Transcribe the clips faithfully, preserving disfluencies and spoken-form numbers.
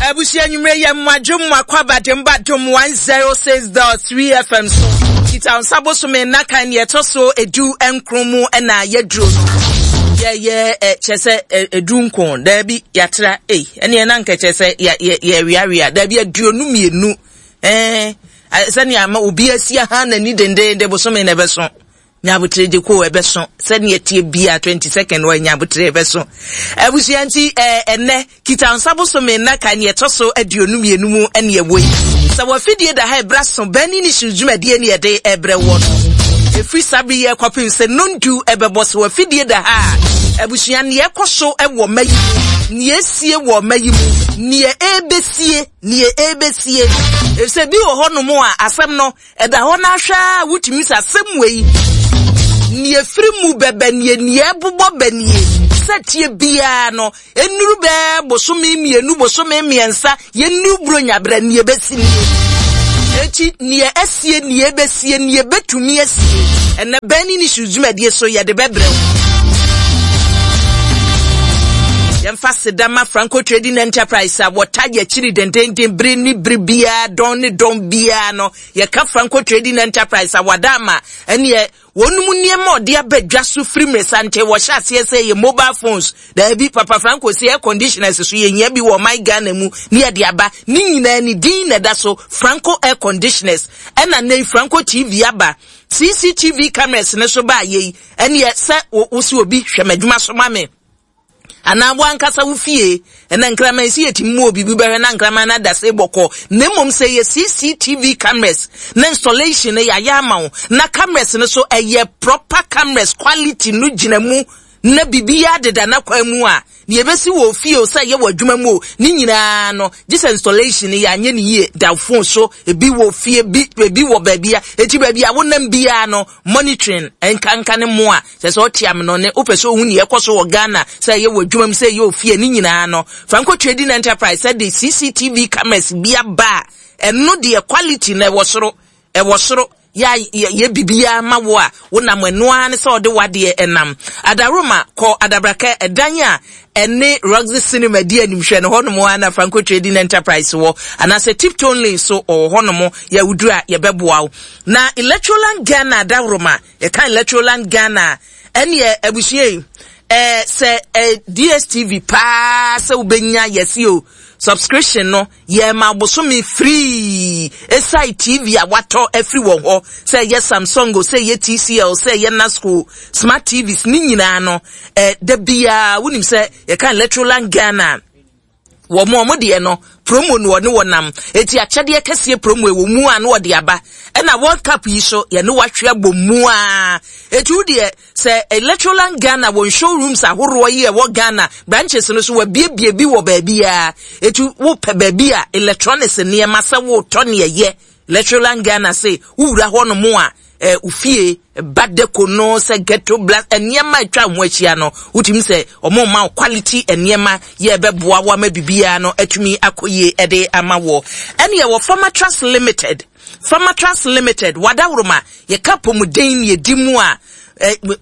Abusua, nwummerɛ yɛ mmadwom makɔ abadwom badwom one zero six point three F M so. Kita nsa bosome nnakan neɛ ɛtɔ so edu nkron mu ɛna yɛduro no. Yɛyɛ ɛ kyerɛ sɛ ɛ edu nkron, daabi, yɛatra ei, ɛneɛ na nka kyerɛ sɛ yɛ yɛ yɛweawea, daabi, aduonu mmienu ɛɛ sɛnea ama obi asi aha n'ani dendenden. Bosome na ɛbɛso nyabotere gye ko ɛbɛso sɛnea tie bia twenty second wɔ nyabotere ɛbɛso. Abusua, nti ɛɛ ɛnɛ kita nsa bosome nnaka neɛ ɛtɔ so aduonu mmienu mu ɛne ɛwɔ yi sɛ wɔafidie da ha ɛbra so bɛni ne hyew dwumadie ne yɛde ɛbrɛ wɔ no ɛfiri saa bere yi ɛkɔpem sɛ nondu ɛbɛbɔ sɛ wɔafidie da ha a. Abusua, neɛ ɛkɔ so ɛwɔ mma yi mu, neɛ esie wɔ mma yi mu, neɛ ɛbɛsie, neɛ ɛbɛsie, efisɛ bi wɔ hɔnom a asɛm no ɛda hɔ n'ahwɛ a wotumi sɛ asɛm wei neɛ firi mu bɛbɛ nie, neɛ ɛbobɔ bɛ nie, sɛ tie biara no enuru bɛɛ bosome mmienu, bosome mmiɛnsa, yɛnuru buronyabrɛ, neɛ bɛsi nie. Eti neɛ asie, neɛ ɛbɛsie, neɛ bɛtumi asie, ɛnɛ bɛn ne ne su dwumadie so yɛde bɛbrɛ wo. Yɛmfa sedama Franco Trading Enterprise a wɔta yɛkyiri dendenden bere ne bere biara, dɔn ne dɔn biara no. Yɛka Franco Trading Enterprise a wada ama ɛneɛ wɔn mu nneɛma a ɔde aba dwa so firi mmeresante wɔhyɛ aseɛ sɛ yɛ mobile phones, daabi, Papa Franco si air conditioners so yɛhia bi wɔ ɔman Ghana mu ne yɛde aba ne nyinaa ne din na ɛda so Franco Air Conditioners. Ɛna ne Franco T V aba, C C T V cameras ne so baa yei ɛneɛ sɛ wo si obi hwɛ m'adwuma so ma me anaa wo ankasa wo fie. Ɛna nkraman si yɛtumi mu obi bi bɛhwɛ na nkraman no ada sɛ bɔkɔ, na mmom sɛ yɛ C C T V cameras na installation no yɛayɛ ama wo na cameras no so ɛyɛ proper cameras, quality no gyina mu na biribiara deda n'akwan mu a, nea ebesi wɔ fie o, sɛ ɛyɛ wɔ adwuma mu o, ne nyinaa no gye sɛ installation no yɛanyɛ ne yie da phone so, ebi wɔ fie bi, ebi wɔ baabi a eti baabi a wonam biara no monitoring nkanka ne mo a sɛ sɛ ɔte ameno ne wopɛ sɛ ohun nea ɛkɔ so wɔ Ghana, sɛ ɛyɛ wɔ adwuma mu, sɛ ɛyɛ wɔ fie, ne nyinaa no Franco Trading Enterprise sɛ de C C T V cameras bi aba a, ɛno deɛ quality na ɛwɔ soro, ɛwɔ soro. Yɛ yɛ biribiara ma wo a wonam ɛno ara ne sɛ ɔde wadeɛ ɛnam adaroma kɔ Adabraka ɛdan a ɛne Roxy Cinema di animhwɛ no hɔnom a na Franco Trading Enterprise wɔ, anaasɛ Tiptone Lane so ɔwɔ hɔnom. Yɛwoduru a yɛbɛboa wo. Na Electroland Ghana adaworoma, yɛka Electroland Ghana ɛneɛ abusua yi ɛɛ sɛ ɛɛ D S T V paa sɛ wobɛnya yɛsi o subscription no yɛma bosome free ɛsae T V a watɔ afiri wɔn hɔ, sɛ ɛyɛ Samsung o, sɛ ɛyɛ T C L, sɛ ɛyɛ Nasco smart T Vs ne nyinaa no ɛɛ da biara wonim sɛ yɛka Electroland Ghana wɔn a wɔn deɛ no promo no wɔne wɔn nam eti akyɛdeɛ kɛseɛ promo ɛwɔ mu a na wɔde aba. Ɛna World Cup yi so yɛne wahwe abɔ mu a eti wo deɛ sɛ Electroland Ghana wɔn showrooms ahoroɔ yi ɛwɔ Ghana branches no so wɔabiebie bi wɔ baabiara. Eti wopɛ baabi a electronics nneɛma sɛ wotɔ ne ɛyɛ Electroland Ghana se wowura hɔ nom a ɛɛ ofie ba deko no sɛ ghetto blast nneɛma atwa ho ahyia no, wotumi sɛ ɔmo ma wo quality nneɛma yɛ ɛbɛboa wo ama biribiara no atumi akɔ yie ɛde ama wɔ. Ɛne ɛwɔ Pharmatrust Limited. Pharmatrust Limited wadaworoma, yɛka pomuden ne yɛdi mu a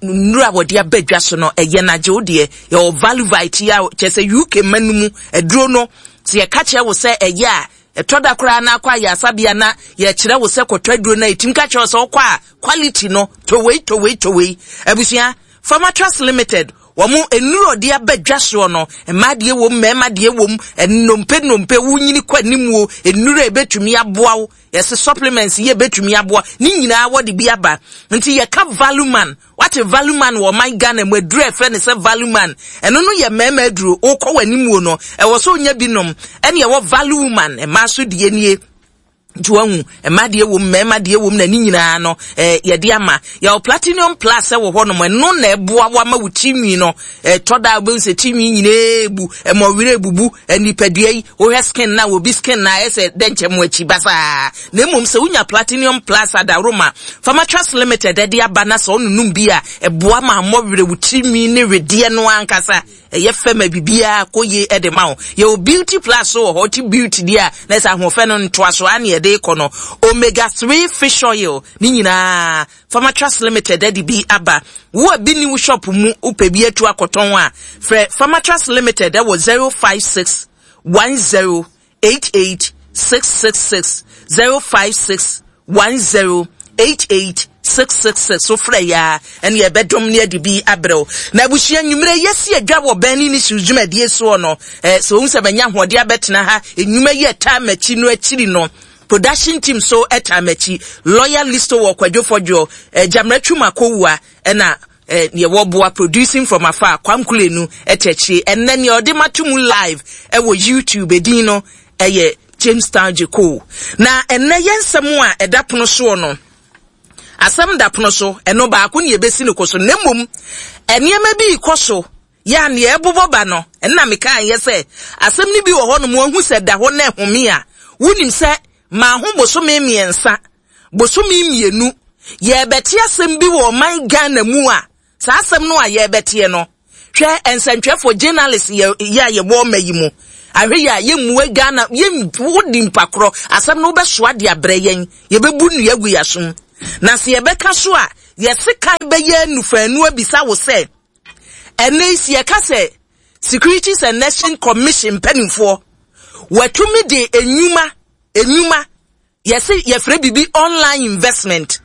nnuro a wɔde aba dwa so no ɛyɛ n'agye wo deɛ. Yɛwɔ Value Vite yi a kyerɛ sɛ U K ma no mu aduro no sɛ yɛka kyerɛ wo sɛ ɛyɛ a ɛtɔ da koraa na akɔ ayɛ asabea na yɛkyerɛ wo sɛ kɔtɔ aduro no a ɛtumi ka kyerɛ wo sɛ wokɔ a quality no towei towei towei. Abusua, Pharmatrust Limited wɔn nnuro ɔde aba dwa soɔ no, mmaa deɛ wɔ mu, mmarima deɛ wɔ mu, nnompe nnompe wonyini kɔ anim o, nnuro a ebetumi aboa wo, yɛsɛ supplements yɛ ebetumi aboa ne nyinaa wɔde bi aba. Nti yɛka Value Man, wate Value Man wɔ ɔman Ghana mu aduro a ɛfrɛ ne sɛ Value Man, ɛno no yɛ mmarima aduro. Wokɔ wɔ anim o no ɛwɔ so onya bi nom. Ɛne ɛwɔ Value Woman, mmaa so deɛ nie. Nti wahu mmaa deɛ wɔ mu, mmarima deɛ wɔ mu, na ne nyinaa no ɛɛ yɛde ama. Yɛwɔ Platinum Plus ɛwɔ hɔnom, ɛno na ɛboa wa ma wo tirinwi no ɛtɔ da wobɛhu sɛ tirinwi nyinaa ebu ɛma ɔwerɛ ebubu nipadua yi. Wohwɛ skin na obi skin na ayɛ sɛ dɛnkyɛn mu akyi basaa, na mmom sɛ wonya Platinum Plus adaworoma Pharmatrust Limited ɛde aba na sɛ ɔnonum bi a, ɛboa ma mmɔ werɛ wo tirinwi ne wedeɛ no ankasa ɛyɛ fɛ ma biribiara kɔ yie ɛde ma wo. Yɛwɔ Beauty Plus so wɔ hɔ, ti beauty deɛ a na ɛsɛ ahoɔfɛ no ntoa so ane yɛde kɔ no omega three fish oil ne nyinaa Pharmatrust Limited ɛde bi aba. Wo a bi ni wo shop mu, wopɛ bi atu akɔtɔn a, frɛ Pharmatrust Limited ɛwɔ zero five six one zero eight eight six six six zero five six one zero eight eight six six six so frɛ ya ɛne yɛbɛdom ne ade bi abrɛw. Na abusua, nnwummerɛ yɛsi adwa wɔ Burning Issues dwumadie soɔ no, eh, sɛ wohu sɛ manya ahoɔden abɛtena ha, nnwuma yi ɛtaa m'akyi no akyiri no, production team so ɛtaa m'akyi, lawyer Listo wɔ Kwadwo Fɔdwoɔ, eh, Gyammerɛ Twum Akowua, ɛna eh, neɛ wɔboa producing from afar, Kwamkulenu ɛte akyire. Ɛnnɛ neɛ ɔde mato mu live ɛwɔ YouTube, edin no ɛyɛ James Town Jeko. Na ɛnnɛ yɛn nsɛm a ɛda pono soɔ no, asɛm da pono so, ɛno baako ne yɛbɛsi no kɔ so, na mmom nneɛma bi kɔ so yɛ a neɛ ɛbobɔ ba no, ɛnna meka yɛ sɛ asɛm no bi wɔ hɔ nom, wahu sɛ da hɔ na ɛhome a, wonim sɛ maa ho bosome mmiɛnsa, bosome mmienu, yɛbɛte asɛm bi wɔ ɔman Ghana mu a, saa asɛm no a yɛbɛteɛ no, hwɛ, nsɛntwerɛfoɔ, journalist yɛ yɛ a yɛwɔ ɔma yi mu, ahwɛ yɛ a yɛmmue Ghana, yɛn wodi mpakorɔ asɛm no wobɛsoa de abrɛ yɛn, yɛbɛbu nnua gu yɛasom. Na sɛ yɛbɛka so a, yɛse kan bɛyɛ nufaanu abisa wo sɛ, ɛnɛ yi si yɛka sɛ Securities and Exchange Commission mpanimfoɔ wɔatumi de enwuma enwuma yɛse yɛfrɛ biribi online investment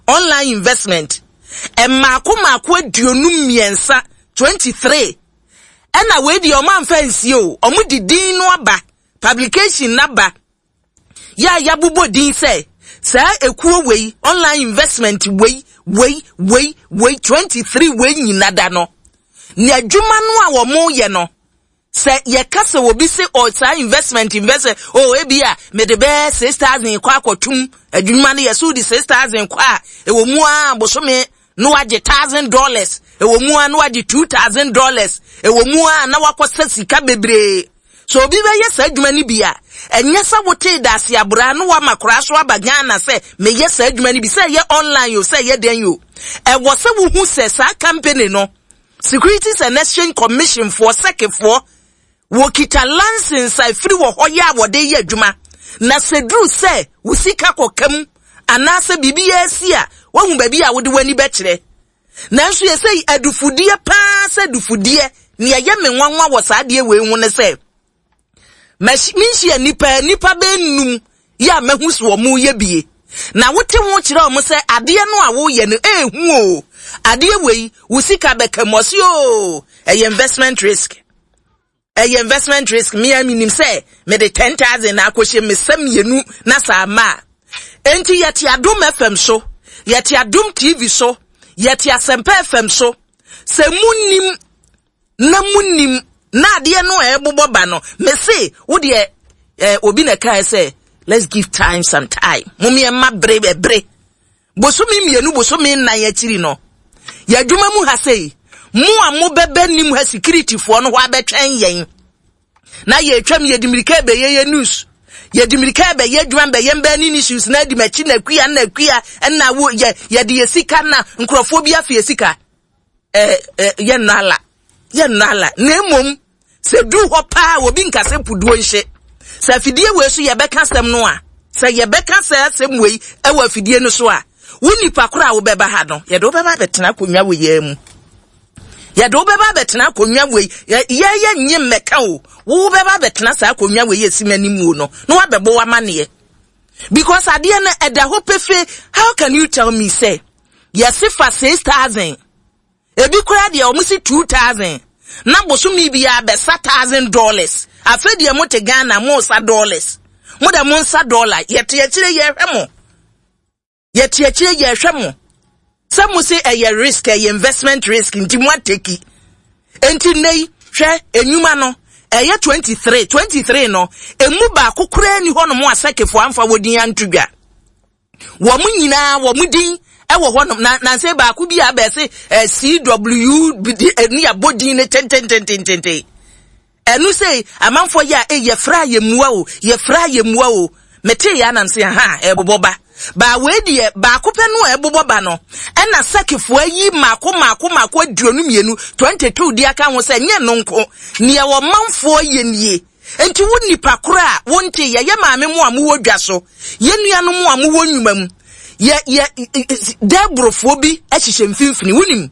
online investment mmaako mmaako aduonu mmiɛnsa, twenty three, ɛna wei deɛ ɔmo amfa nsie o, ɔmo de din no aba, publication naba yɛ a yɛabobɔ din sɛ saa ekuo wei, online investment wei wei wei wei, twenty three wei nyina da no ne adwuma no a wɔn yɛ no, sɛ yɛka sɛ obi se ɔ saa investment investment o, ebi a mede bɛyɛ six thousand kɔ akɔtum adwuma no, yɛ so de six thousand kɔ a, ɛwɔ mu a bosome na wagye thousand dollars, ɛwɔ mu a na wagye two thousand dollars, ɛwɔ mu a na wakɔsɛ sika bebree. So obi bɛyɛ saa adwuma no bi a, ɛnyɛ sɛ wotee daase abora na wama koraa so aba Ghana sɛ meyɛ saa adwuma no bi, sɛ ɛyɛ online o, sɛ ɛyɛ den o, ɛwɔ sɛ wohu sɛ saa company no, Securities and Exchange Commission foɔ, S E C foɔ, wɔkita license a ɛfiri wɔ hɔ yɛ a wɔde yɛ adwuma. Na sɛ duru sɛ wo sika kɔka mu anaasɛ biribi yɛ asi a, woahu baabi a wode w'ani bɛkyerɛ. Nanso yɛ sɛ adufudeɛ paa, sɛ adufudeɛ, nea ɛyɛ me nwanwa wɔ saa adeɛ wei ho ne sɛ menhyia nipa nipa bɛnum yɛ a mahu so wɔn yɛ bie na wote ho kyerɛ wɔn sɛ adeɛ no a woyɛ no ehu o, adeɛ wei wo sika bɛka mu, ɔsi o, ɛyɛ investment risk, ɛyɛ investment risk. Mmea mi nim sɛ mede ten thousand na akɔhyɛ me sɛ mmienu na saa ma a, enti yɛte Adom F M so, yɛte Adom T V so, yɛte Asɛmpa F M so, sɛ mu nim na mu nim na adeɛ no a ɛbobɔ ba no, mese wo deɛ, eh, obi na ɛkae sɛ let's give time some time, momeɛma bere ɛbere bosome mmienu, bosome nnan akyiri no, yɛadwuma mu ha sei, mo a mobɛbɛ nim ha, securityfoɔ no hɔ abɛtwɛn yɛn na yɛtwam, yɛde mmirika bɛyɛ yɛ news, yɛde mmirika bɛyɛ adwuma, bɛyɛ mbɛn ne issues na adi m'akyi na akua na akua ɛna wo yɛ yɛde yɛ sika na nkurɔfoɔ bi afe yɛ sika, ɛɛ ɛ yɛ nnala, yɛ nnala. Na emom sɛ duru hɔ paa, obi nkasa puduo nhyɛ sɛ afidie wei so yɛbɛka asɛm no a, sɛ yɛbɛka sɛ asɛm wei ɛwɔ afidie no so a, wo nipa koro a wobɛba ha no, yɛde wobɛba abɛtena akonnwa wɔ yɛn mu, yɛde wobɛba abɛtena akonnwa wei, yɛyɛ nye mmɛka o, wo wobɛba abɛtena saa akonnwa wei yɛsi m'anim wo no na wabɛbɔ w'amanneɛ, because adeɛ no ɛda hɔ pefe. How can you tell me sɛ yɛse fa six thousand, ebi koraa deɛ ɔmo si two thousand, na bosome biara bɛsa thousand dollars? Afei deɛ mo te Ghana, mo sa dollars, mo de mo nsa dollar, yɛte akyire yɛhwɛ mo, yɛte akyire yɛhwɛ mo sɛ mo se ɛyɛ risk, ɛyɛ investment risk, nti mo ateki. Nti nne yi, hwɛ, enyuma no ɛyɛ twenty three, twenty three no emu baako koraa ni hɔnom a S E C foɔ amfa wɔ din anto dwa. Wɔn nyinaa wɔn din ɛwɔ hɔnom na nansi baako bi a abɛɛse ɛ C W ɛni abɔ din ne tententententen. Ɛno sɛ amanfoɔ yɛ a, ɛ yɛfrɛ a yɛmmua o, yɛfrɛ a yɛmmua o. Mete yɛ anam sɛ ha ɛbobɔ ba baa wei deɛ, baako pɛ no a ɛbobɔ ba no, ɛna S E C foɔ ayi maako maako maako aduonu mmienu, twenty two di aka ho sɛ nyɛ no nko nea ɔmanfoɔ yɛ nie. Nti wo nipa koro a wonte, yɛyɛ maame mu a mowɔ dwa so, yɛ nuanom a mowɔ nnwuma mu, yɛ yɛ dɛborofoɔ bi ahyehyɛ mfimfini, wonim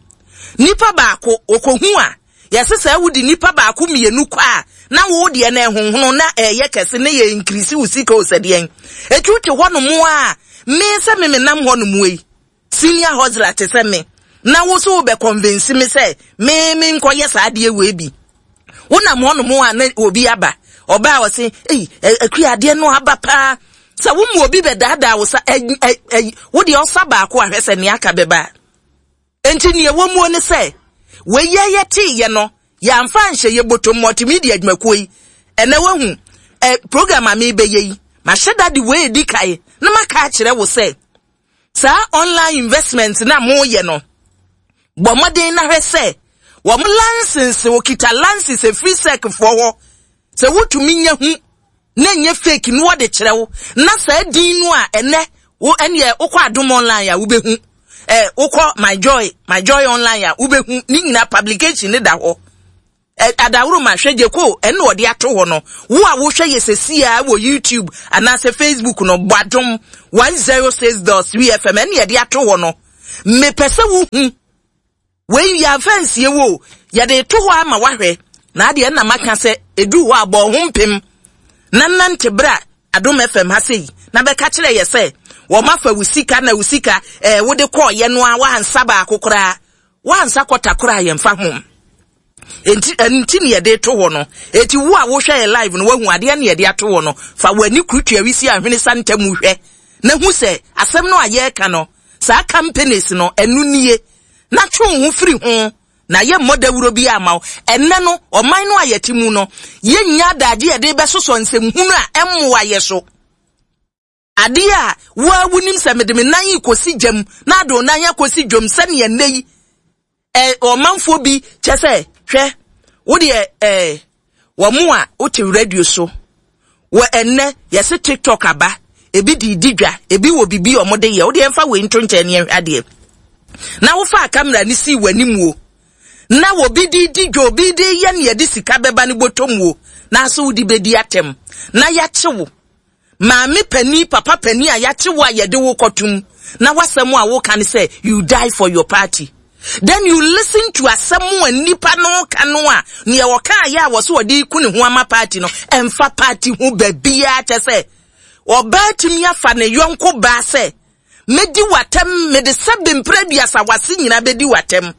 nipa baako okohu a, yɛsɛ sɛ wodi nipa baako mmienu kɔ a, Na wo deɛ na ɛhonhono na ɛyɛ kɛse ne yɛ increase wo sika o sɛdeɛn. Eti wote hɔ nom a, me sɛ me menam hɔ nom yi, senior hustler te sɛ me, na wo so wobɛ convince me sɛ me me nkɔyɛ saa adeɛ wei bi. Wonam hɔ nom a na obi aba, ɔbaa ɔse, ei, Akua, adeɛ no aba paa. Sɛ wo mu obi bɛdaadaa wo sa, ɛ ɛ ɛ wo deɛ ɔsa baako ahwɛ sɛ nea aka bɛba. Enti nea ɛwɔ mu ne sɛ, wei yɛ yɛteeɛ no, yɛamfa nhyɛ yɛ bɔtɔm multimedia adwumakuo yi. Ɛnɛ wahu, ɛ program a mebɛyɛ yi, mahyɛ da de wei edi kae, na maka akyerɛ wo sɛ, saa online investment na moyɛ no, bɔ mmɔden na hwɛ sɛ, wɔn license, wɔkita license efiri S E C foɔ hɔ, sɛ wotumi nya hu, na nyɛ fake no wɔde kyerɛ wo, na saa din no a ɛnɛ, wo ɛneɛ wokɔ Adom Online a wobɛhu, eh, wokɔ My Joy, My Joy Online a wobɛhu, ne nyinaa publication ne da hɔ. Eh, adaworo ma hwɛ gye ko ɛne wɔde ato hɔ no, wo a wohwɛ yɛ sɛsi a wɔ YouTube anaasɛ Facebook no, bɔ Adom one zero six dot three F M ɛne yɛde ato hɔ no. Mepɛ sɛ wohu wei yɛamfa nsie wo, yɛde to hɔ ama wahwɛ. Na adeɛ na maka sɛ edu hɔ a bɔ ho mpem na nante bra Adom F M ha sei na bɛka kyerɛ yɛ sɛ wɔn afa wo sika na wo sika eh, wode kɔɔ yɛ no a wansa baako koraa, wansa kɔta koraa yɛmfa ho. Enti enti ne yɛde to hɔ no. Enti wo a wohwɛ yɛ live no wahu adeɛ ne yɛde ato hɔ no, fa w'ani kurutua wisi ahwene sa ntam hwɛ na hu sɛ asɛm no a yɛreka no, saa companies no ɛno nie, na twe wo ho firi ho na yɛ mmɔ dawuro bi ama wo. Ɛnnɛ no ɔman no a yɛte mu no, yɛnnya adagye yɛde bɛsosɔ nsɛmhunu a ɛmmoa yɛ so. Adeɛ a wo a wonim sɛ mede me nan yi kɔsi gyam na ade wo nan akɔsi dwom sɛneɛ nnɛ yi, ɛ, ɔmanfoɔ bi kyɛ sɛ hwɛ wo deɛ, ɛ, wɔn mo a wote radio so wɔ ɛnnɛ yɛse TikTok aba, ebi de di dwa, ebi wɔ bibi a ɔmo de yɛ, wo deɛ mfa wei nto nkyɛn ne ɛhwɛ adeɛ. Na wofa kamera ne si w'anim wo, na obi de di dwa, obi de yɛ ne yɛde sika bɛba ne bɔtɔm wo, na aso wode bɛdi atɛm na yɛakye wo. Maame pani, papa pani a yɛakye wo a yɛde wo kɔtum, na wasɛm a woka ne sɛ you die for your party. Then you listen to asɛm a nipa no ka no a nea wɔka ayɛ a wɔso wɔde ku ne ho ama party no, ɛmfa party ho baabia kyɛ sɛ ɔbaa tumi afa ne yɔnko baa sɛ medi w'atɛm, mede sɛbe mprɛ aduasa wase nyinaa bɛdi w'atɛm,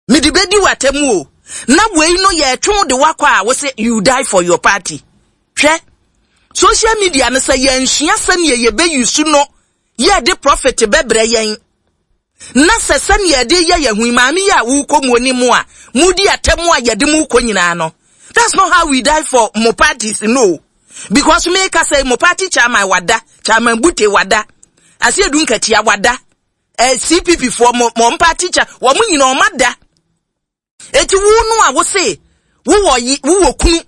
mede bɛdi w'atɛm o, na wei no yɛtwe de wakɔ a wose you die for your party. Hwɛ social media no sɛ yɛnsua sɛnea yɛbɛyi no, yɛde profit bɛbrɛ yɛn. Na sɛ sɛnea yɛde yɛ yɛn ho yi, maame yi a wokɔ mu anim a mudi atɛm a yɛde mu kɔ nyinaa no, that's not how we die for mo parties, no. Because me ka sɛ mo party chairman wada, chairman Bute wada, Asiedu Nketia wada, eh, C P P foɔ mo, mo party chair, wɔn mo nyinaa wɔn ada. Eti wo no a wo se, wo wɔ yi, wo wɔ kunu,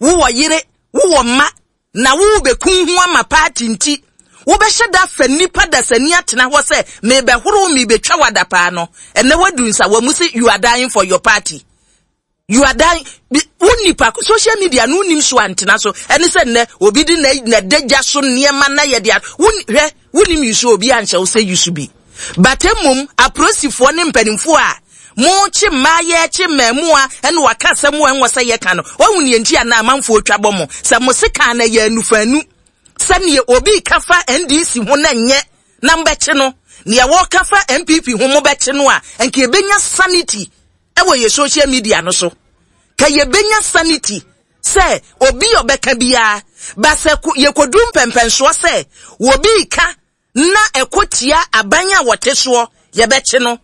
wo wɔ yere, wo wɔ mma, na wo bɛku ho ama party nti, wobɛhyɛ da fa nipa da sani atena hɔ sɛ mebɛhoro mebɛtwa wada paa no. Ɛnɛ wadu nsa wɔ mu sɛ you are dying for your party. You are dying. Wo nipa social media no nim so antena so. Ɛne sɛ nnɛ obi di na na dagya so nneɛma na yɛde a wo hwɛ wo nim yusu obi anhyɛ wo sɛ yusu bi. But mmom aprosifoɔ ne mpanimfoɔ a mo kye mmaa yɛ kye mmaamua ɛne waka asɛm wɔ ɛnwɔ sɛ yɛka no. Wahu ne nti a na amanfoɔ twa bɔ mo sɛ mo se kan na yɛ anufanu. Sɛneɛ obi ka fa N D C ho na nyɛ na mbɛkye no, nea wɔka fa N P P ho mo bɛkye no a, nka yɛbɛnya sanity ɛwɔ yɛ social media no so. Ka yɛbɛnya sanity sɛ obi ɔbɛka biara, ba sɛ yɛkɔdu mpɛmpɛnsoɔ sɛ obi ka na ɛkɔ tia aban a wɔte soɔ yɛbɛkye no,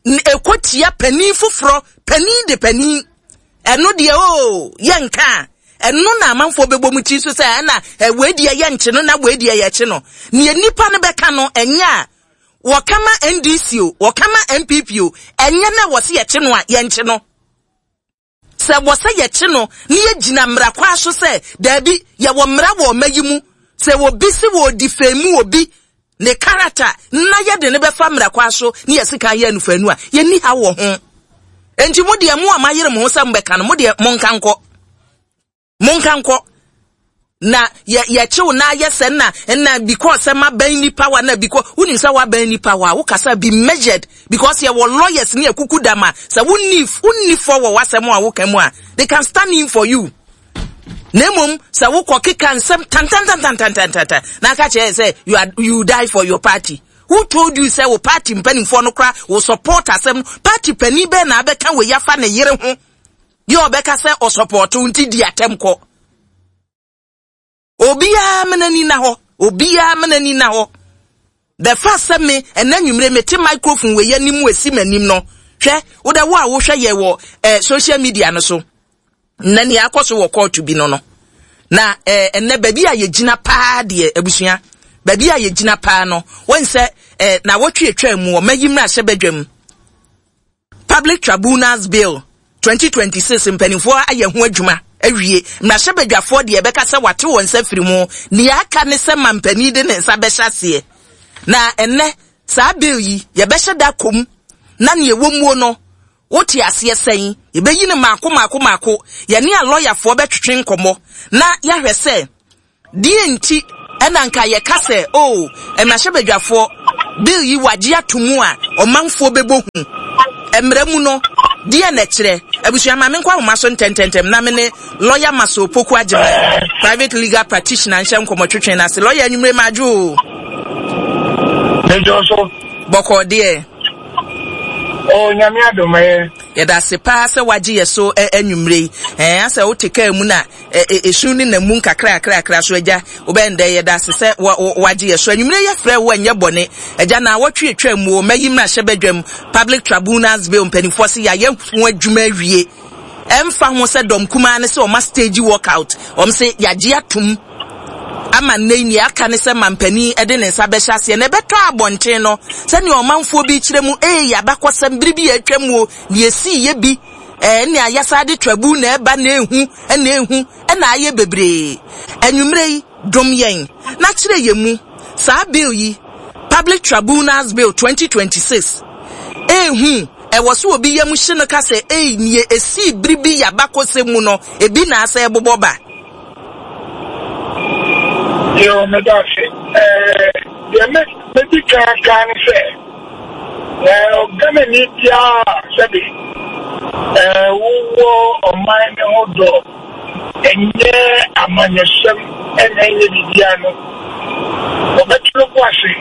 ɛkɔ tia panin foforɔ, panin de panin, ɛno deɛ o yɛnka a, ɛno na amanfoɔ bɛbɔ mu ti so sɛ ɛna wei deɛ yɛnkye no na wei deɛ yɛkye no. Nea nipa no bɛka no ɛnyɛ a wɔka ma N D C o, wɔka ma N P P o, ɛnyɛ na wɔse yɛkye no a yɛnkye no. Sɛ wɔsɛ yɛkye no na yɛgyina mmara kwa so sɛ daabi yɛwɔ mmara wɔ ɔma yi mu, sɛ obi si wɔ odi fɛn mu obi ne character na yɛde ne bɛfa mmara kwa so na yɛsi kan yɛ anufanu a yɛnni ha wɔ ho. Enti mo deɛ mo a mayere mo ho sɛ mobɛka no, mo deɛ monka nkɔ. Monka nkɔ. Na yɛ yɛkyew na yɛ sɛ na na because sɛ mabɛn nipa wa na because wonim sɛ wabɛn nipa wa wo kasa be measured because yɛ wɔ lawyers ne akuku dama sɛ wonni wonni fɔ wɔ wasɛm a woka mu a they can stand in for you. Na mmom sɛ wokɔ keka nsɛm tantantantantantantan na aka kyerɛ sɛ you are you die for your party. Who told you sɛ wo party mpanimfoɔ no kora wo support asɛm? Party panin bɛɛ na abɛka wei afa ne yere ho deɛ ɔbɛka sɛ ɔsupport nti di atɛm kɔ? Obiara mena ni na hɔ, obiara mena ni na hɔ. The fact sɛ me ɛnɛ nwumire mete microphone wei anim esi m'anim no, hwɛ, wode wo a wohwɛ yɛ wɔ eh, social media no so na nea akɔ so wɔ court bi no no na eh, ɛnɛ baabi a yɛgyina paa deɛ, abusua, baabi a yɛgyina paa no, wɔn sɛ eh, na wɔtwe atwa mu ɔmayi mmarahyɛ badwam Public Tribunals Bill twenty twenty-six, mpanimfoɔ ayɛ ho adwuma awie. Mmarahyɛbadwafoɔ deɛ, ɛbɛka sɛ wate wɔn nsa firi mu. Nea aka ne sɛ ma mpanin de ne nsa bɛhyɛ aseɛ, na ɛnɛ saa bill yi yɛbɛhyɛ da kɔm na nea ɛwɔ muo no, wote aseɛ sɛn? Yɛbɛyi no maako maako maako. Yɛne a lɔyafoɔ bɛtwetwe nkɔmmɔ na yɛahwɛ sɛ deɛ nti ɛna nka yɛka sɛ o oh, mmarahyɛbadwafoɔ bill yi wagye ato mu a ɔmanfoɔ bɛbɔ hu. Mmerɛ mu no deɛ na ɛkyerɛ. Abusua, maame, nkɔ ahoma so ntɛntɛntɛm na me ne Lawyer Maso Opoku Agyema, private legal practitioner, nhyɛ nkɔmmɔ twetwe no ase. Lawyer, anwummere madwo o. Mejɔ so. Bɔkɔɔ deɛ? O, Nyame adom, ɛyɛ. Yɛda ase paa sɛ wagye yɛ so anwummere yi. Ɛɛ asɛ wote kaa mu na esu ne nam mu nkakra kakra so, agya, wobɛn dɛ. Yɛda ase sɛ wagye yɛ so anwummere. Yɛfrɛ wo ɛnyɛ bɔne, agya. Na awɔtwe atwa mu o, mɛyi mmarahyɛ badwam Public Tribunals Bill, mpanimfoɔ sɛ yɛayɛ ho adwuma awie. Ɛmfa ho sɛ dɔm kumaa ne sɛ ɔma stage walkout, ɔm sɛ yɛagye atom ama nnɛ yi, nea aka ne sɛ mampanin de ne nsa bɛhyɛ aseɛ na ɛbɛtɔ abɔnten no. Sɛnea ɔmanfoɔ bi kyerɛ mu, ee, yɛabakɔsɛm bere bi a atwa mu o, nea esii yɛ bi ɛɛ nea yɛsa de tribunal na ɛba na ehu ɛna ehu ɛna ayɛ bebree. Anwummerɛ yi, dom yɛn na kyerɛ yɛn mu saa bill yi, Public Tribunals Bill twenty twenty-six. Ehu ɛwɔ so obi yam hye no ka sɛ ei, nea esii bere bi yɛabakɔsɛm mu no ebi na asɛ ɛbobɔ ba. Yo, meda ase. Ɛɛ deɛ me medi kan kan ne sɛ ɛɛ Ghanani biara, sɛbi, ɛɛ wowɔ ɔman ne ho dɔ, ɛnyɛ amanyɔsɛm ɛna ɛnyɛ biribiara no, wɔbɛto no bo ase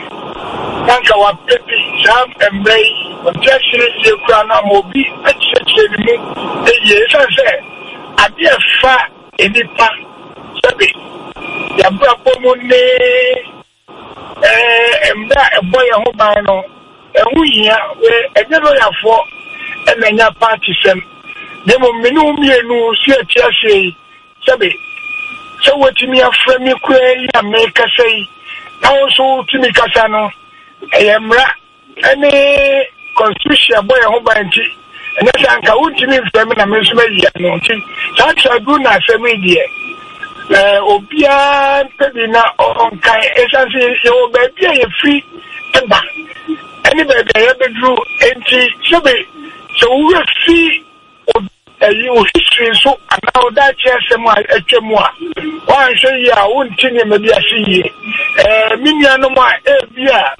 na nka wapɛ bi saa mmerɛ yi ɔnte aseɛ yie koraa no ama obi akyerɛkyerɛ ne mu yie, ɛsiane sɛ adeɛ ɛfa nnipa, sɛbi, yɛabrabɔ mu ne ɛɛ mmerɛ a ɛbɔ yɛn ho ban no ɛho hia. Ɛnyɛ lɔyafoɔ ɛna ɛnya party sɛm, na mmom me ne wo mmienu si ati aseɛ yi, sɛbi, sɛ wotumi afrɛ me koraa yi a mekasa yi na wo nso wotumi kasa no, ɛyɛ mmara ɛne constitution ɛbɔ yɛn ho ban. Nti ɛnyɛ sɛ anka wontumi mfrɛ me na me nso mayi ano. Nti saa tribunal asɛm yi deɛ, ɛɛ obiara mpɛ bi na ɔnkan, ɛsiane sɛ yɛwɔ baabi a yɛfiri ɛba ɛne baabi a yɛbɛduru. Nti sɛbi, sɛ wowura fi ɛyi wo history nso anaa wo daakye asɛm a atwa mu a woanhwɛ yie a, wonte nneɛma bi ase yie. ɛɛ me nuanom a ebi a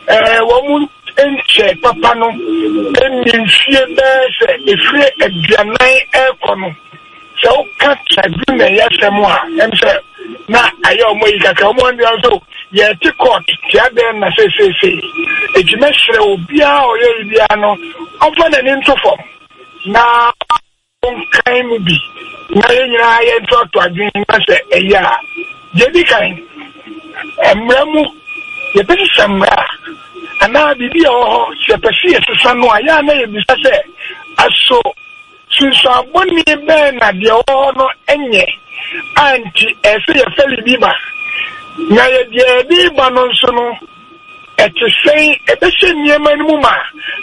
ɛɛ wɔn nkyɛ papa no ɛnni mfie bɛyɛ sɛ efiri aduanan ɛrekɔ no, sɛ woka tribunal yɛ asɛm a, ɛm sɛ na ayɛ ɔmo yi kakra. Ɔmo anua nso yɛte court tia dɛn na seeseesei. Eti mɛsrɛ obiara a ɔyɛ yi biara no, ɔmfa n'ani nto fam na nkan mu bi na yɛn nyinaa yɛntoato adwene. Na sɛ ɛyɛ a, deɛ di kan, mmara mu yɛbɛsesa mmara a anaa biribi a ɛwɔ hɔ sɛ yɛpɛ sɛ yɛsesa no a, yɛa na yɛbisa sɛ aso sunsuabɔne bɛn na deɛ ɛwɔ hɔ no nyɛ a nti ɛsɛ yɛfɛ biribi ba, na yɛdeɛ yɛde ba no nso no ɛte sɛn, ɛbɛhyɛ nneɛma no mu ma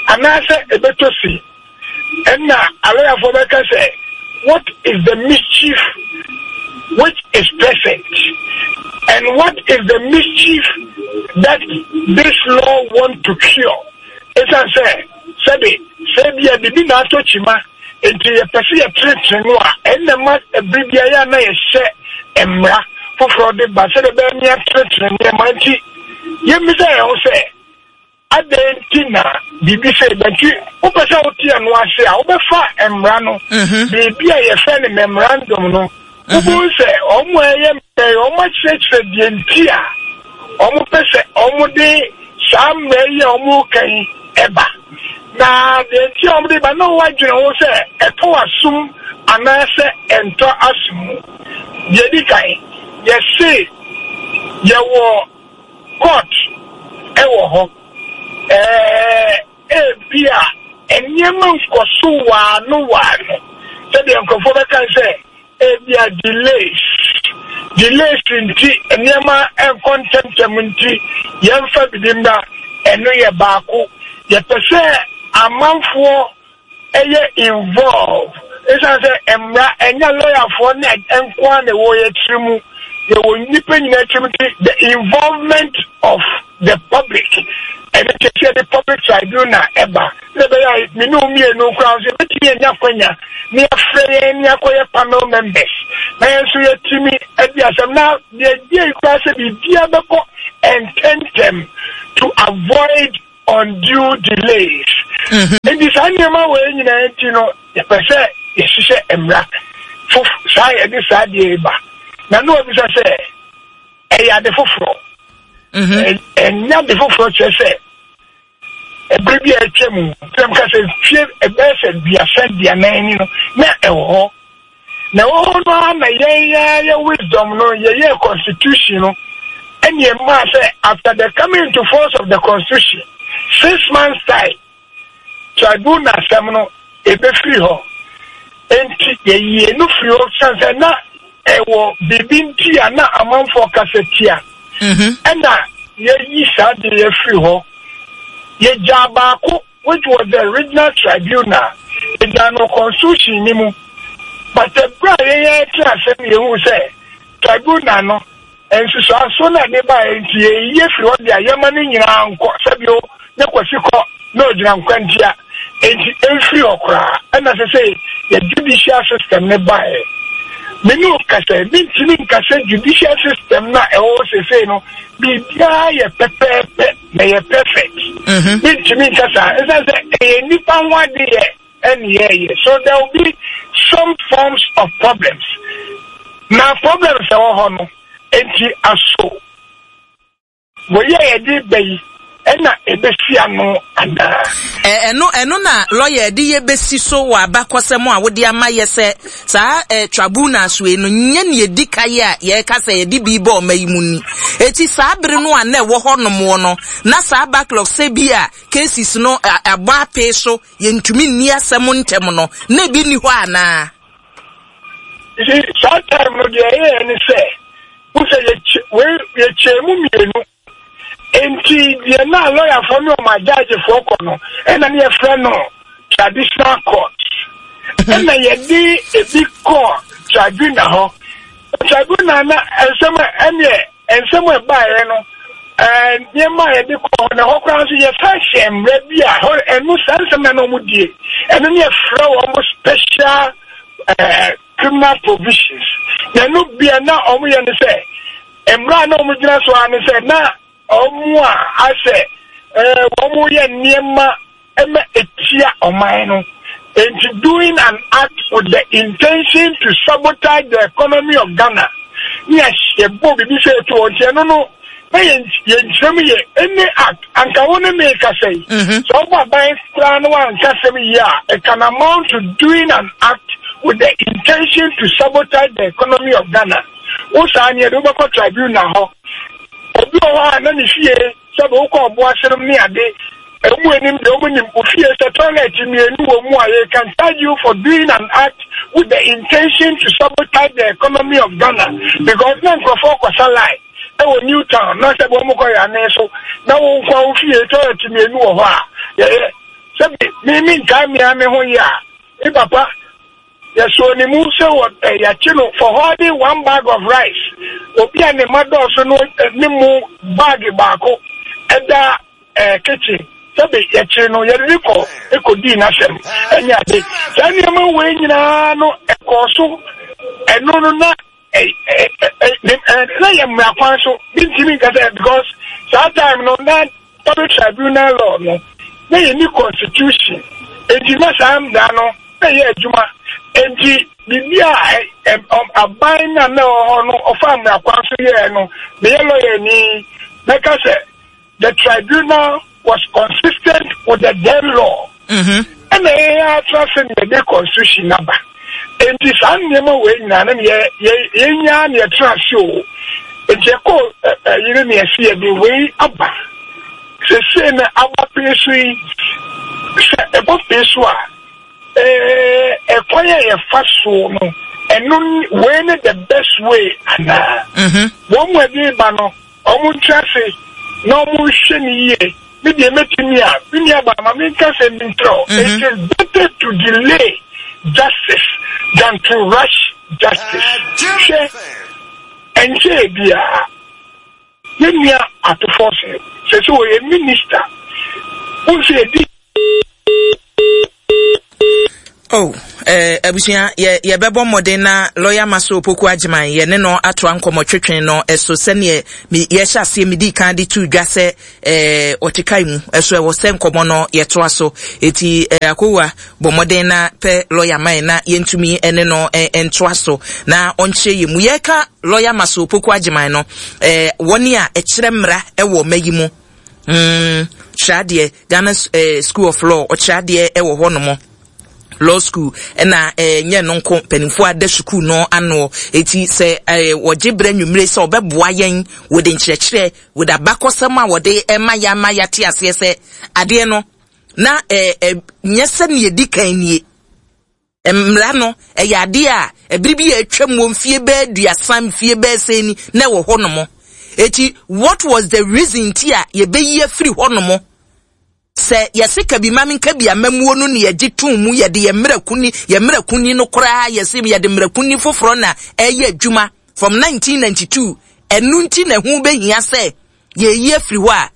anaasɛ ɛbɛtɔ si. Ɛnna alɔyafoɔ bɛka sɛ, what is the mischief which is present and what is the mischief that this law want to cure? Ɛsiane sɛ, sɛbi, sɛ bia biribi na atɔ kyima nti yɛpɛ sɛ yɛtenetene no a, ɛnna ma ɛbere biara a na yɛhyɛ mmara foforɔ de ba sɛdeɛ ɛbɛyɛ ne yɛatenetene nneɛma. Nti yɛmmisa yɛn ho sɛ, adɛn nti na biribi sɛ bɛnti wopɛ sɛ wote ɛno ase a, wobɛfa mmara no biribi a yɛfrɛ no memorandum no. Wobɛhu sɛ ɔmo a ɛyɛ mmara yi, ɔmo akyerɛkyerɛ deɛ nti a ɔmo pɛ sɛ ɔmo de saa mmara yi a ɔmo ka yi ɛba. Na deɛ nti a ɔmo de ba na wɔadwene ho sɛ ɛtɔ asom anaasɛ ɛntɔ asom mu. Deɛ di kan, yɛse yɛwɔ court ɛwɔ hɔ. Ɛɛ ebi a nneɛma nkɔ so waano waano sɛdeɛ nkurɔfoɔ bɛka sɛ ebi a delays delays nti nneɛma nkɔ ntɛmntɛm nti yɛmfa bibi mmra. Ɛno yɛ baako. Yɛpɛ sɛ amanfoɔ ɛyɛ involve, ɛsiane sɛ mmara ɛnyɛ lɔyafoɔ ne nkoa na ɛwɔ yɛ tiri mu, yɛwɔ nnipa nyinaa tiri mu, nti the involvement of the public, ɛno nti sɛ yɛde public tribunal ɛba na ɛbɛyɛ a me ne wo mmienu koraa nso yɛbɛtumi anya kwanya na yɛafrɛ yɛn ne yɛakɔyɛ panel members na yɛn nso yɛtumi adi asɛm, na deɛ die koraa sɛ biribiara bɛkɔ ntɛntɛm to avoid undue delays. Nti saa nneɛma wɔ nyinaa nti no, yɛpɛ sɛ yɛhyehyɛ mmara fof saa yɛde saa deɛ ba na ne wɔbisa sɛ ɛyɛ ade foforɔ. Ɛnyɛ ade foforɔ, kyerɛ sɛ ɛberɛ bi a atwa mu sɛ mka sɛ fie ɛbɛyɛ sɛ duasa duanan ni no na ɛwɔ hɔ, na ɛwɔ hɔ no ara na yɛn yɛ wisdom no yɛyɛ constitution no, ɛne ɛmaa sɛ after the coming into force of the constitution, six months time, tribunal asɛm no ebɛfiri hɔ. Nti yɛyie no firi hɔ san sɛ na ɛwɔ biribi nti a na amanfoɔ kasa tia, ɛna yɛyi saa de yɛfiri hɔ. Yɛgyaa baako, which was the regional tribunal, yɛgyaa no constitution ni mu, but ɛberɛ a yɛyɛ te asɛm, yɛhu sɛ tribunal no nsusuaso na de baeɛ, nti yɛyi firi hɔ de a yɛma no nyinaa nkɔ sɛbio ne kwasi kɔ na ɔgyina nkwantia, nti ɛmfiri hɔ koraa. Ɛna sɛ sɛ yɛ judicial system ne baeɛ, me ne wo kasa, mentumi nka sɛ judicial system na ɛwɔ sesei no biribiara yɛ pɛpɛɛpɛ na yɛ perfect. Mentumi nka saa, ɛsiane sɛ ɛyɛ nnipa ho adeyɛ ɛne yɛyɛ, so there will be some forms of problems, na problems ɛwɔ hɔ no nti aso wɔyɛ yɛde ba yi ɛna ebesi ano anaa? Ɛno ɛno na lɔya de yɛ besi so wɔ abakɔsɛm a wode ama yɛ sɛ saa ɛ tribunal so yi no nyɛ ne yɛdi ka yi a yɛreka sɛ yɛde bi bɔ ɔma yi mu ni. Eti saa bere no a na ɛwɔ hɔ nom no, na saa backlog sɛ bi a cases no abɔ apee so, yɛntumi nni asɛm ntɛm no, na ebi ni hɔ anaa? You, saa time no, deɛ ɛyɛ ne sɛ wosɛ yɛkyɛ mu mmienu, nti deɛ na lɔyafoɔ ne ɔmo agyagyefoɔ kɔ no, ɛna ne yɛfrɛ no traditional court, ɛna yɛde ebi kɔ tribunal hɔ. Tribunal na nsɛm a ɛneɛ nsɛm a ɛbaeɛ no, ɛɛ nneɛma a yɛde kɔ hɔ na hɔ koraa nso yɛsa hyɛ mmerɛ bi a hɔ ɛno saa nsɛm na na ɔmo die, ɛno ne yɛfrɛ wɔn special ɛɛ criminal provisions, na ɛno bia na ɔmo yɛ no sɛ mmerɛ a na ɔmo gyina so ara ne sɛ na ɔmo a asɛ ɛɛ wɔn yɛ nneɛma ɛma etia ɔman no, nti doing an act with the intention to sabotage the economy of Ghana, ne yɛbɔ biribi sɛ etu wɔn, nti ɛno no na yɛn yɛn kyerɛ mu yɛ any act anka wo ne me kasa yi, sɛ ɔbɔ aban koraa no wanka sɛm yie a, it can amount to doing an act with the intention to sabotage the economy of Ghana. Wo saa neɛ de wobɛkɔ tribunal hɔ. Obi wɔ hɔ a na ne fie sɛbe wokɔ ɔbo asenom ne ade emu anim deɛ ɔmo nim ofie sɛ toilet mmienu wɔ mu a, yɛ can charge you for doing an act with the intention to sabotage the economy of Ghana, because na nkurɔfoɔ kɔsa line ɛwɔ New Town na sɛbe wɔn kɔ yɛ anen so na wɔn nkwa wo fie toilet mmienu wɔ hɔ a, yɛyɛ sɛbe mímí nkaa mmea me ho yɛ a, me papa yɛsɔ ne mu sɛ wɔ ɛ yɛakye no for holding one bag of rice. Obi a ne ma dɔɔso no ne mu bag baako ɛda ɛɛ kitchen, sɛbi yɛkyere no, yɛde ne kɔ ekɔdii n'asɛm. Ɛnyɛ ade saa nneɛma wei nyinaa no ɛkɔɔ so. Ɛno no na ɛ ɛ ɛ ɛ na yɛ mmara kwan so bi ntumi nka sɛ, because saa time no na public tribunal law no na yɛ ni constitution, eti na saa mmara no na yɛ adwuma. Enti biribi a aban na na ɛwɔ hɔ no ɔfa mmara kwan so yɛɛ no, meyɛ lawyer ni, mɛka sɛ the tribunal was consistent with the then law. Ɛna yɛn atra sɛ ne yɛde constitution naba. Enti saa nneɛma wei nyinaa no yɛ yɛnyaa ne yɛtena ase o. Enti ɛkɔ ɛyere ne yɛsi yɛde wei aba. Sese na aba pee so yi, sɛ ɛbɔ pee so a, ɛɛ ɛkwan a yɛfa so no, ɛno wei ne the best way anaa? Wɔn mu ɛde ba no, wɔn ntra ase na wɔn nhwɛ ne yie. Me deɛ mɛtumi a, me nua ba ma me nka sɛ mi ntrɛ. It is better to delay justice than to rush justice. Hwɛ, ɛnkyɛn biara yɛn nua Ato Forson sɛ sɛ wɔyɛ minister wɔn sɛ yɛdi. Oh, eh, abusua, yɛ yɛbɛbɔ mmɔden na lawyer Maso Opoku Agyeman yɛ ne no atoa nkɔmmɔtwetwe no ɛso sɛneɛ yɛhyɛ aseɛ medi kan de to dwa sɛ eh, ɔte kae mu ɛso ɛwɔ sɛ nkɔmmɔ no yɛtoa so. Eti eh, akowa bɔ mmɔden na pɛ lawyer man na yɛntumi ne no eh, ntoa so na ɔnkyerɛ yɛ mu. Yɛka lawyer Maso Opoku Agyeman no, eh, wɔne a ɛkyerɛ mmara ɛwɔ mma yi mu. Mm, kyerɛ adeɛ Ghana eh, School of Law, ɔkyerɛ adeɛ ɛwɔ hɔ nom. Law school ɛna eh, nyɛ no nko mpanimfoɔ ada sukuu no ano. Eti sɛ eh, wɔgye berɛ nwummere sɛ ɔbɛboa yɛn wɔde nkyerɛkyerɛ wɔde abakɔsɛm a wɔde ɛma yɛ ama yɛate aseɛ sɛ adeɛ no na eh, eh, nyɛ sɛ ne yɛdi kan nie. Mmara no ɛyɛ adeɛ a ɛbere bi a atwam wɔ mfie bɛɛ aduasa, mfie bɛɛ sɛn ni na ɛwɔ hɔ nom. Eti what was the reason ti a yɛbɛyi afiri hɔ nom? Sɛ yɛse kabi ma menka bi amamuo no ne yɛgye too mu, yɛde yɛ mmerɛkuni, yɛ mmerɛkuni no koraa yɛse yɛde mmerɛkuni foforɔ na ɛyɛ adwuma from nineteen ninety-two. Ɛno nti na ɛho bɛhia sɛ yɛyi afiri hɔ a,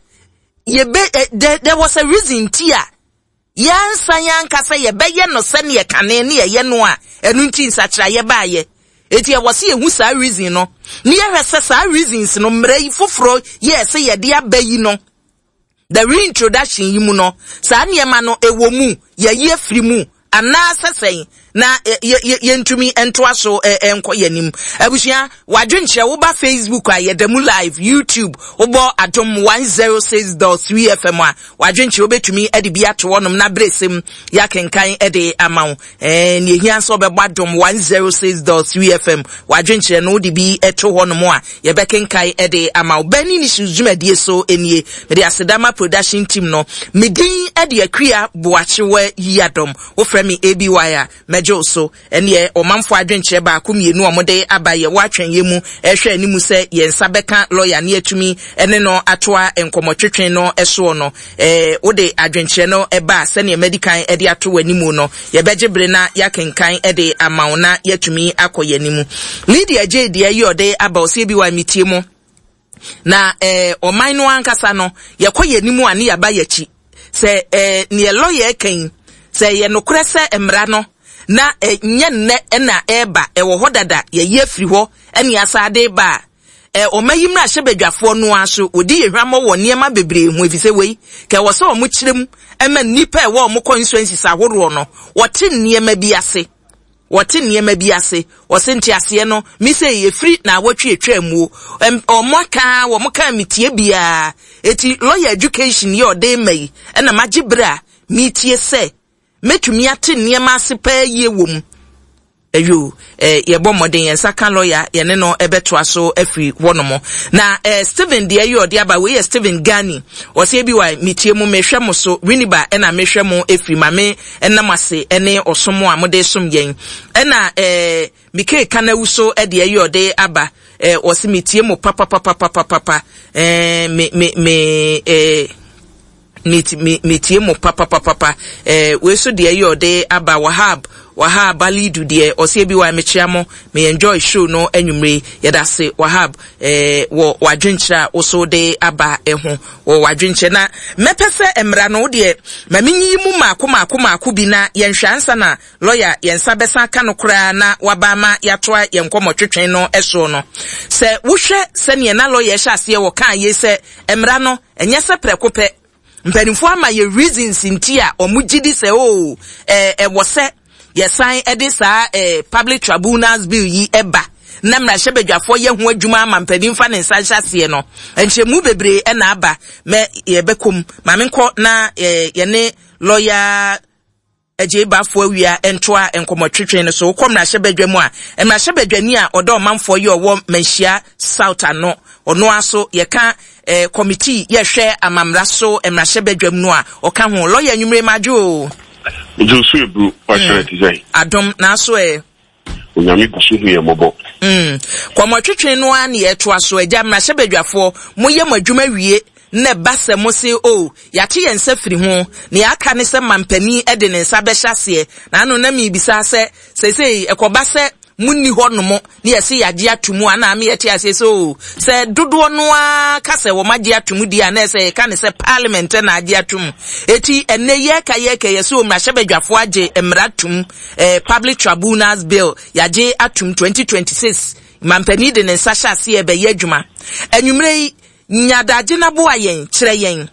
yɛbɛ, eh, there, there was a reason ti a yɛnsan yɛnka sɛ yɛbɛyɛ no sɛneɛ kane ne yɛyɛ no a, ɛno nti nsakyerɛeɛ baayɛ. Eti ɛwɔ sɛ yɛhu saa reason no, ne yɛhwɛ sɛ saa reasons no mmerɛ yi foforɔ yɛɛ sɛ yɛde aba yi no, the reintroduction yi mu no, saa nneɛma no ɛwɔ mu, yɛyi afiri mu, anaasɛ sɛn na yɛntumi ntoa so nkɔ yɛn anim. Abusua, wadwenkyerɛ woba Facebook a yɛda mu live, YouTube wobɔ Adom one oh six dot three F M a, wadwenkyerɛ wobɛtumi de bi ato hɔnom na beresɛm yɛakenkan de ama wo. Eh, ne ehia nso wobɛbɔ Adom one oh six dot three F M, wadwenkyerɛ no wode bi to hɔnom a yɛbɛkenkan de ama wo. Burning Issues dwumadie so nie. Mede asedama production team no, medin de Akua Boakyewa Yiadom. Wofrɛ me A B Y a, mɛgye so. Ɛneɛ ɔmanfo adwenkyerɛ baako mmienu a wɔde aba yɛ wɔatwɛn yɛ mu ɛhwɛ anim sɛ yɛn nsa bɛka lawyer ne atumi ɛne no atoa nkɔmmɔtwetwe no ɛsoɔ no. Eh, wode adwenkyerɛ no ɛba sɛnea medikan ɛde ato w'anim no, yɛbɛgye bere na yɛakenkan ɛde ama wo na yɛatumi akɔ yɛn anim. Lydia J deɛ yi ɔde aba ɔsɛ bi wa metie mu. Na eh, ɔman no ankasa no yɛkɔ yɛn anim a ne yɛaba yɛkyi. Sɛ eh, neɛ lawyer kan sɛ yɛ nokorɛ sɛ mmara no na eh, nyɛ nnɛ ɛna ɛreba ɛwɔ hɔ dada yɛyi afiri hɔ ɛne asade ba a, eh, ɔma yi mmra hyɛ badwafoɔ no ara so wɔdi yɛ hwammɔ wɔ nneɛma bebree ho efisɛ wei ka ɛwɔ sɛ ɔmo kyerɛ mu ɛma nnipa ɛwɔ ɔmo constituencies ahoroɔ no wɔte nneɛma bi ase. Wɔte nneɛma bi ase. Wɔse nteaseɛ no mi sɛ yɛfiri na awɔtwe atwa muo. Ɔmo aka wɔn ka metie biara. Eti lawyer education yɛ ɔde ma yi ɛna magye bere a metie sɛ metumi ate nneɛma ase paa yie wɔ mu. Eyo, eh, yɛbɔ mmɔden yɛn nsa ka lawyer yɛne no ɛbɛtoa so afiri hɔnom. Na eh, Stephen deɛ yɛ ɔde aba wei yɛ Stephen Gani. Ɔsɛ bi wa metie mu mehwɛ mo so Winneba ɛna mehwɛ mo efiri ma me ɛnam ase ɛne ɔsom a mode som yɛn. Ɛna eh, Mike Kanawu so ɛdeɛ yɛ ɔde aba. Eh, ɔsɛ metie mo papa papa papa papa. Eh, me me me eh, metie mo papa papa papa. Eh, wei so deɛ yɛ ɔde aba Wahab. Wahab Alidu deɛ ɔsɛ bi wa mekyia mo me enjoy show no anwumre yɛda se Wahab eh, wɔ wadwenkyerɛ a woso de aba ɛho wɔ wadwenkyerɛ na mɛpɛ sɛ mmara no deɛ ma menyiyi mu maako maako maako bi na yɛnhwɛ ansa na lawyer yɛn nsa bɛsa ka no koraa na waba ama yɛatoa yɛn nkɔmmɔtwetwe no ɛsoɔ no. Sɛ wohwɛ sɛneɛ na lawyer hyɛ aseɛ wɔ kaa yei sɛ mmara no ɛnyɛ sɛ prɛko pɛ mpanimfoɔ ama yɛ reasons nti a ɔmo gye di sɛ o ɛɛ ɛwɔ sɛ Yɛsan de saa eh, Public Tribunals Bill yi ba na mmarahyɛbadwafoɔ yɛ ho adwuma ama mpanin fa ne nsa nhyɛ aseɛ no, nkyerɛmu bebree na aba mɛ yɛbɛkɔ mu. Ma menkɔ na eh, yɛne lɔya Agyei Bafo Awia ntoa nkɔmmɔtwetwe no so. Wokɔ mmarahyɛbadwa mu a, mmarahyɛbadwani a ɔda ɔmanfoɔ yi ɔwɔ Manhyia South ano, ɔno ara so yɛka eh, committee yɛhwɛ amammara so mmarahyɛbadwam no a ɔka ho. Lɔya, anwummere madwo o. Megye so eburu, wahyerɛ te sɛ. Adom, naaso ɛ. Onyame gu so hu yɛn mmɔbɔ. Mm. Kɔmmɔtwetwe no ara ne yɛtoa so. Agya, mmarahyɛbadwafoɔ, moyɛ mo adwuma wie na ɛba sɛ mo se, o, yɛate yɛn nsa firi ho, nea aka ne sɛ mampanin de ne nsa bɛhyɛ aseɛ. Na ano na mebisa sɛ, seesei ɛkɔba sɛ munni hɔ nom ne yɛse yɛagye ato mu a, na ama yɛte aseɛ sɛ, o, sɛ dodoɔ no ara ka sɛ wɔn agye ato mu deɛ a, na ɛsɛ yɛka ne sɛ parliament na agye ato mu. Eti ɛnnɛ yɛka yɛka yɛse o, mmarahyɛbadwafoɔ agye mmara tom, eh, Public Tribunals Bill yɛagye atom twenty twenty-six, mampanin de ne nsa hyɛ aseɛ bɛyɛ adwuma. Anwummerɛ yi, nya adagye na boa yɛn, kyerɛ yɛn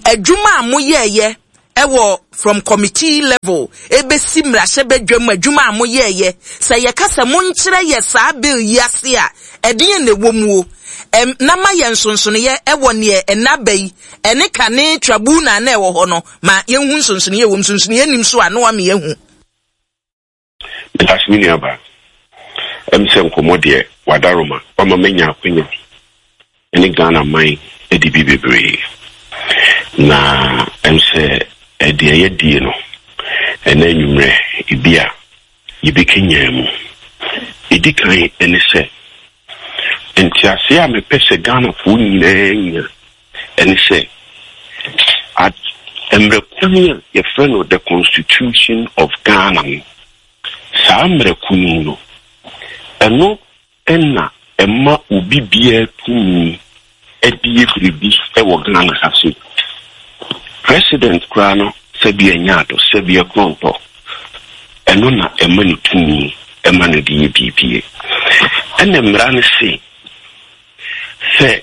adwuma a moyɛɛyɛ ɛwɔ from committee level ebesi mmarahyɛbadwam, adwuma a moyɛɛyɛ. Sɛ yɛka sɛ monkyerɛ yɛ saa bill yi ase a, ɛdeɛn na ɛwɔ mu o? Ɛm, na ma yɛn nsonsonoeɛ ɛwɔ neɛ ɛna ba yi ɛne kane tribunal na ɛwɔ hɔ no, ma yɛnhu nsonsonoeɛ wɔ mu. Nsonsonoeɛ nim so a, na wama yɛhu. Medase, me nuaba. Ɛm sɛ nkɔmmɔ deɛ, wadaroma wama manya akwanya ne Ghana man adi bi bebree. Na ɛm sɛ ɛdeɛ yɛdie no ɛna anwummerɛ ebi a yɛbɛkenyaa mu. Ɛdi kan ne sɛ, nteaseɛ a mepɛ sɛ Ghanafoɔ nyinaa nya ɛne sɛ, mmerɛ kuni a yɛfrɛ no the Constitution of Ghana no, saa mmerɛ kuni no, ɛno ɛna ɛma obi biara tumi ɛde yɛ biribi ɛwɔ Ghana ha se. President koraa no, sɛbi ɛnyɛ ado, sɛbi ɛkorɔntɔ, ɛno na ɛma no tumi ɛma no de yɛ biribie. Ɛna mmara no se sɛ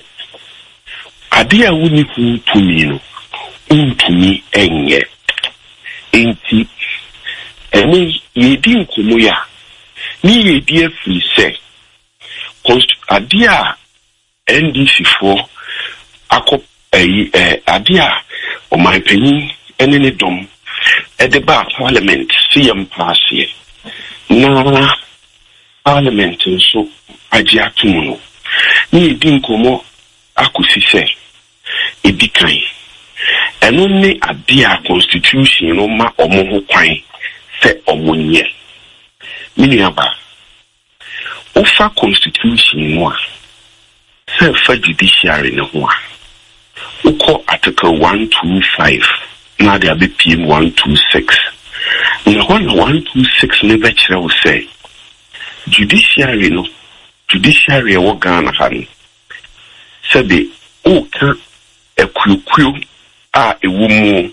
adeɛ a wonni ho tumi no, wontumi ɛnyɛ. Nti ɛne yɛdi nkɔmmɔ yi a ne yɛdi afiri sɛ adeɛ a N D C foɔ akɔ ɛyi ɛɛ adeɛ a ɔmanpanyin ɛne ne dɔm ɛde baa parliament si yɛn mpaaseɛ na parliament nso agye ato mu no, ne yɛdi nkɔmmɔ akɔsi sɛ ɛdi kan, ɛno ne adeɛ a constitution no ma ɔmo ho kwan sɛ ɔmo nyɛ. Me nuaba, wofa constitution no a, sɛ fa judiciary ne ho a, wokɔ article one two five na ade abɛpiem one two six, na hɔ na one two six ne bɛkyerɛ wo sɛ judiciary no, judiciary ɛwɔ Ghana ha no, sɛbe woka akuokuo a ɛwɔ mu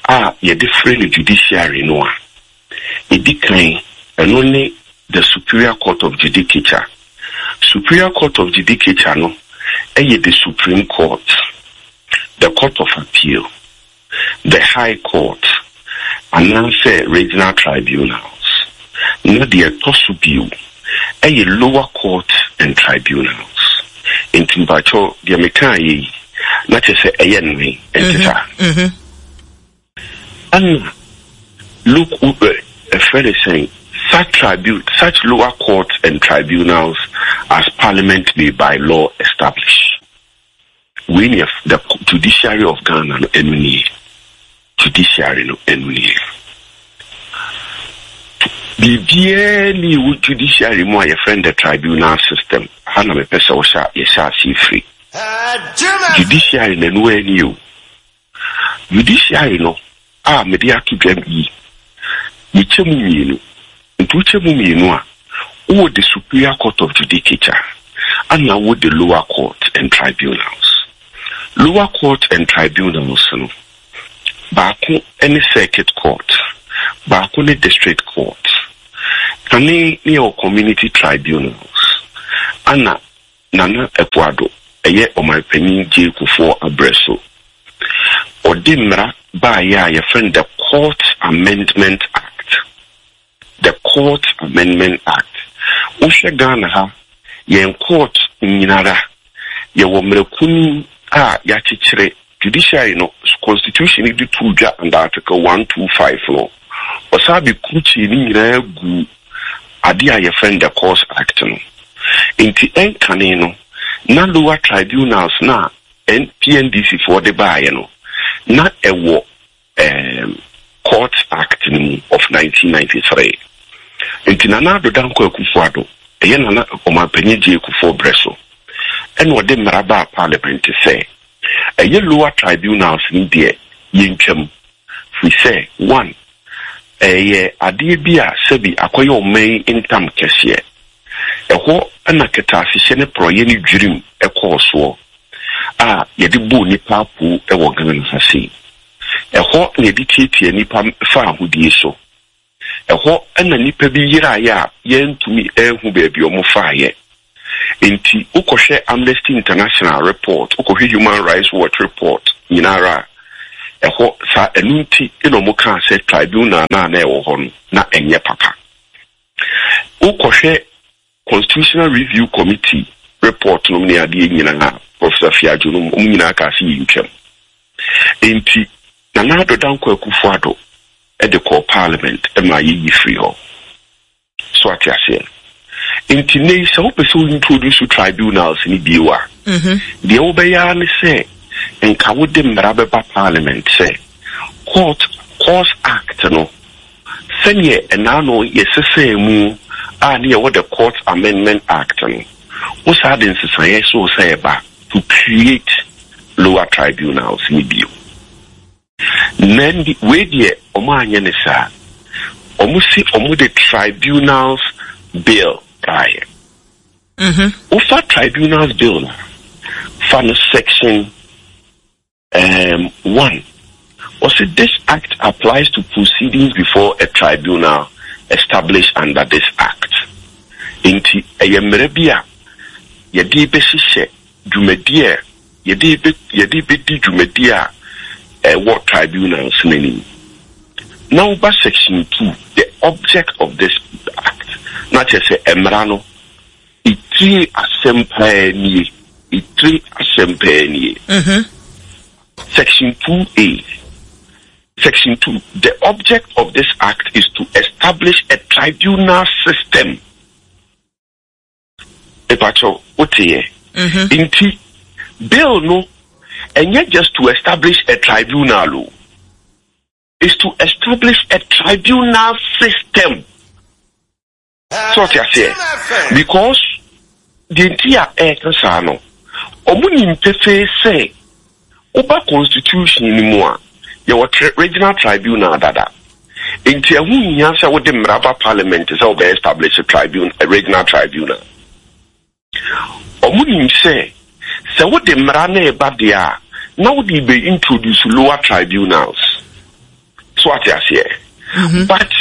a yɛde frɛ no judiciary no a, ɛdi kan ɛno ne the Superior Court of Judicature. Superior Court of Judicature no ɛyɛ the Supreme Court, the Court of Appeal, the High Court anaasɛ regional tribunals. Na deɛ ɛtɔ so bio ɛyɛ lower court and tribunals. Nti mpakyɛw, deɛ mekaa yɛ yi na kyerɛ sɛ ɛyɛ nnan, ɛnte saa? Ɛna look, ɛfrɛ ne sɛn, such tribu such lower courts and tribunals as parliament may by law establish. Wei ne the judiciary of Ghana no. Ɛno nie, judiciary no, ɛno nie. Biribiara ni ɛwɔ judiciary mu a yɛfrɛ no the tribunal system. Ha na mepɛ sɛ wɔhyɛ yɛhyɛ aseɛ firi judiciary na ɛno ani o. Judiciary no a mede ato dwam yi, yɛkyɛ mu mmienu. Nti wokyɛ mu mmienu a, wowɔ the Superior Court of Judicature ana wowɔ the lower court and tribunals. Lower court and tribunals no, baako ne circuit court, baako ne district court. Kane ne yɛwɔ community tribunals ana Nana Akufo-Addo, ɛyɛ ɔmanpanyin J Kufuor abrɛ so, ɔde mmara baayɛ a yɛfrɛ no the Court Amendment Act. The Court Amendment Act. Wohwɛ Ghana ha, yɛn court nyinara, yɛwɔ mmarakuni a yɛakyekyere judiciary no. Constitution de to dwa under Article one two five no, ɔsan bɛkurukyie ne nyinaa gu adeɛ a yɛfrɛ no the Courts Act no. Nti ɛnkane no na lower tribunals na P N D C foɔ de baeɛ no na ɛwɔ um, Court Act no mu of nineteen ninety-three. Nti Nana Addo Dankwa Akufo-Addo, ɛyɛ Nana Ɔmanpanyin Gye Kufuor brɛ so, ɛna ɔde mmara baa Parliament sɛ ɛyɛ lower tribunals no deɛ, yɛntwam, firi sɛ one, ɛyɛ adeɛ bi a sɛbi akɔyɛ ɔman yi ntam kɛseɛ. Ɛhɔ ɛna kɛtɛasehyɛ ne porɔyɛ ne dwirim ɛkɔɔ soɔ a yɛde bɔɔ nipa apo ɛwɔ Ghana ha sei. Ɛhɔ na yɛde tietie nipa fa ahodie so. Ɛhɔ ɛna nipa bi yeraeɛ a yɛntumi ɛnhu baabi ɔmo faeɛ. Nti wokɔhwɛ Amnesty International report, wokɔhwɛ Human Rights Watch report nyinara a, ɛhɔ saa. Ɛno nti ɛna ɔmo kaa sɛ tribunal naa na ɛwɔ hɔ no na ɛnyɛ papa. Wokɔhwɛ Constitutional Review Committee report nom ne adeɛ nyinaa, Professor Fiadwo nom, ɔmo nyinaa kaa sɛ yɛntwam. Nti Nana Addo Dankwa Akufo-Addo ɛde kɔɔ Parliament ɛma yɛyi firi hɔ so. Ate aseɛ? Nti ne sɛ wopɛ sɛ wo introduce tribunals ne bio a, deɛ wobɛyɛ ara ne sɛ nka wode mmara bɛba Parliament sɛ court Courts Act no, sɛneɛ ɛnaa no yɛsesɛɛ mu a ne yɛwɔ the Court Amendment Act no, wo saa de nsesaeɛ so sɛ ɛba to create lower tribunals ne bio. Na wei deɛ, ɔmo anyɛ ne saa. Ɔmo si ɔmo de Tribunals Bill baeɛ. Wofa Tribunals Bill no, fa no section um, one, ɔsi, "This act applies to proceedings before a tribunal established under this act." Nti ɛyɛ mmerɛ bi a yɛde bɛhyehyɛ dwumadi a yɛde bɛ yɛde bɛdi dwumadi a ɛwɔ tribunals n'anim. Na woba section two, the object of this act, na kyerɛ sɛ mmara no etire asɛm paa nie, etire asɛm paa nie. Section two A, section two, "The object of this act is to establish a tribunal system." Epakyɛw, woteɛ? Nti bill no ɛnyɛ just to establish a tribunal o, is to establish a tribunal system. So ɔte aseɛ? Because deɛ nti a ɛɛka saa no, ɔmo nim pefee sɛ woba constitution no mu a, yɛwɔ tri regional tribunal dada. Nti ɛho nhia sɛ wode mmara ba Parliament sɛ wobɛ establish a tribunal, a regional tribunal. Ɔmo nim sɛ sɛ wode mmara no ɛba deɛ a, na wode bɛ introduce lower tribunals. So ate aseɛ? But